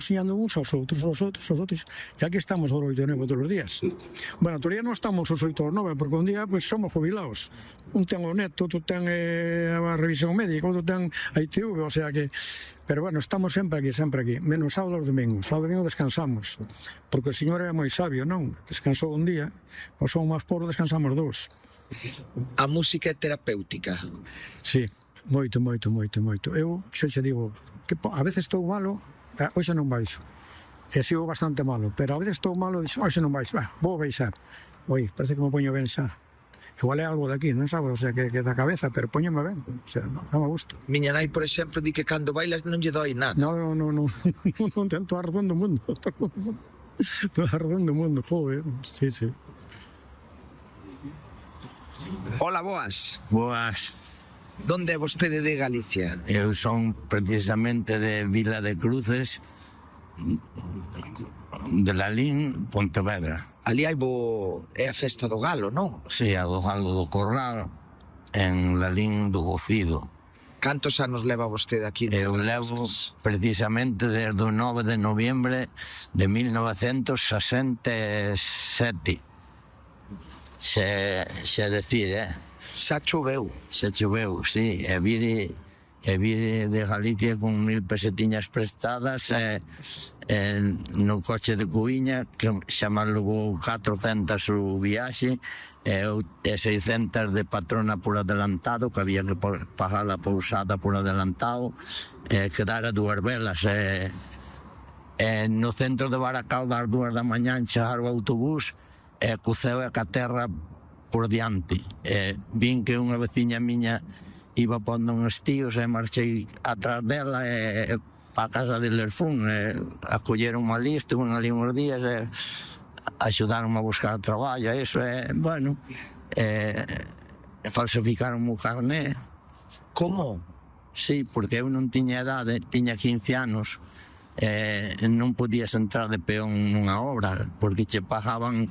enseñando uns aos outros, e aquí estamos aos 8 e 9 todos os días. Bueno, todavía non estamos aos 8 ou 9, porque un día pues, somos jubilados. Un ten o neto, outro ten a revisión médica, outro ten a ITV, o sea que... Pero bueno, estamos sempre aquí, menos sábado e domingo. Sábado e domingo descansamos, porque o señor era moi sabio, non? Descansou un día, o son máis pobres, descansamos dous. A música é terapéutica? Sí, moito. Eu xa che digo, que a veces estou malo, hoxe non baixo. E sigo bastante malo, pero a veces estou malo e dixo, hoxe non baixo, vou baixar. Oi, parece que me poño ben xa. Igual é algo de aquí, non sabes, o sea, que da cabeza, pero poñome ben, o sea, dame gusto. Miña nai, por exemplo, di que cando bailas non lle doi nada. Non, tento a razón do mundo. Toda a razón do mundo, joder, sí. Hola, boas. Boas. Donde é vostede de Galicia? Eu son precisamente de Vila de Cruces, de Lalín, Pontevedra. Ali hai é a festa do galo, non? Si, a do Galo do Corral, en Lalín do Gocido. Cantos anos leva vostede aquí? Eu levo precisamente desde o 9 de noviembre de 1967. Se decir, Xa choveu. Se choveu, sí. E vire de Galicia con 1000 pesetiñas prestadas no coche de Cuiña, que xa me levou 400 o viaxe, e 600 de patrona por adelantado, que había que pagar a pousada por adelantado, quedara 2 velas. No centro de Baracaldo, ás 2 da mañá, chegar o autobús, coceu a caterra por diante. Vin que unha veciña miña iba pondo uns tíos e marchei atrás dela para a casa de Lerfún. Acolleron a lista, estuve ali uns días e axudaron a buscar traballo. Eso bueno, falsificaron o carné. Como? Sí, porque eu non tiña edade, tiña 15 anos, non podías entrar de peón nunha obra, porque che pagaban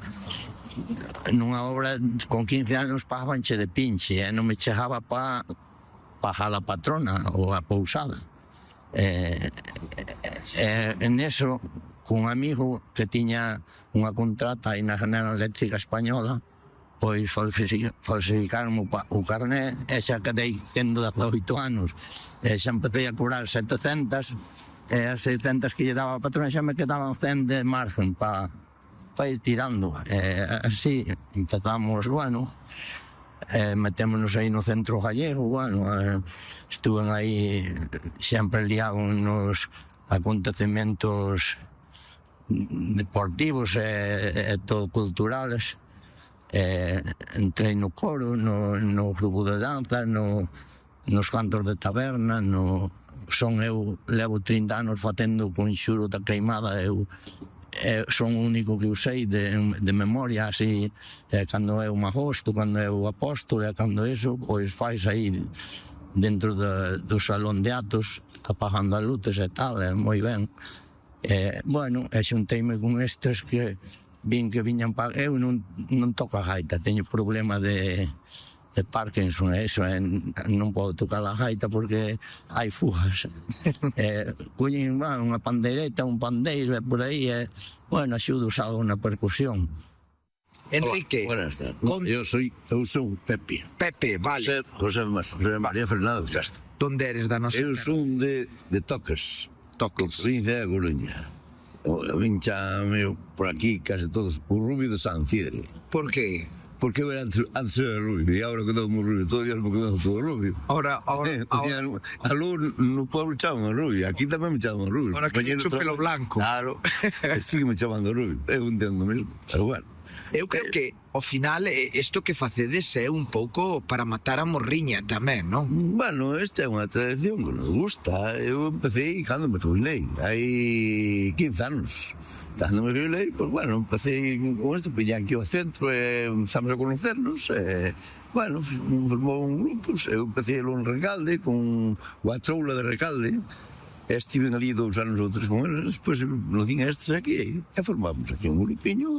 nunha obra con 15 anos, pagabanche de pinche, non me chegaba para pagar a patrona ou a pousada. En eso, cun amigo que tiña unha contrata aí na General Eléctrica Española, pois falsificaron o carné e xa quedei tendo 18 anos. Xa empecé a cobrar 700 e as 600 que lle daba a patrona xa me quedaban 100 de margen para ir tirando. Así empezamos, bueno, metémonos aí no centro gallego, bueno, estuven aí sempre liado nos acontecementos deportivos e todo culturales. Entrei no coro, no grupo de danza, nos cantos de taberna, eu levo 30 anos facendo o conxuro da Queimada. Eu son o único que eu sei de memoria, así, cando é o Magosto, cando é o Apóstolo, e cando eso, pois fais aí dentro do salón de atos, apagando as luces e tal, moi ben. Bueno, xunteime con estes que vin que viñan para... Eu non toco a gaita, teño problema de Parkinson, eso, non podo tocar a gaita porque hai fugas. Collen unha pandeireta, un pandeiro, por aí, bueno, axudo algo na percusión. Enrique. Buenas tardes. Eu son Pepe. Pepe, vale. José María Fernández Castro. Donde eres da nosa? Eu son de Toques. Provincia de Coruña. Vin chame por aquí case todos o Rubio de San Cidre. Por qué? Porque eu antes era rubio e agora quedou moi rubio, todo días me quedou todo rubio. Ahora... Alú no pueblo chaman rubio, aquí tamén me chaman rubio. Ahora que tens o pelo blanco. Claro, sigue me chamando rubio, eu entendo mesmo, pero bueno. Eu creo que, ao final, isto que facedes é un pouco para matar a morriña tamén, non? Bueno, esta é unha tradición que nos gusta. Eu empecé cando me jubilei, hai 15 anos. Cando me jubilei, pois, bueno, empecé con isto, piña aquí ao centro e empezamos a conocernos. Bueno, formou un grupo, eu empecé en Recalde, con o Atroula de Recalde. Estiven ali 2 anos ou 3 con eles, despois nos din estes aquí, e formamos aquí un grupiño.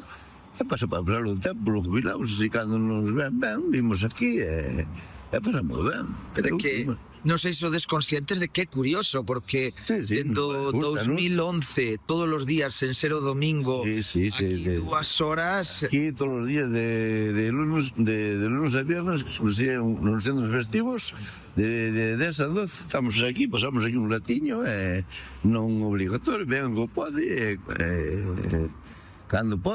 E pasa para pasar o tempo, nos jubilamos, así cando nos ven, vimos aquí e pasamos ben. Pero que non sei se sodes conscientes de que é curioso, porque dentro 2011, todos os días, sen ser o domingo, aquí 2 horas... Aquí todos os días de lunes a viernes, nos centros festivos, de 10 a 12, estamos aquí, pasamos aquí un ratiño, non obligatorio, vengan co pode, cando pode,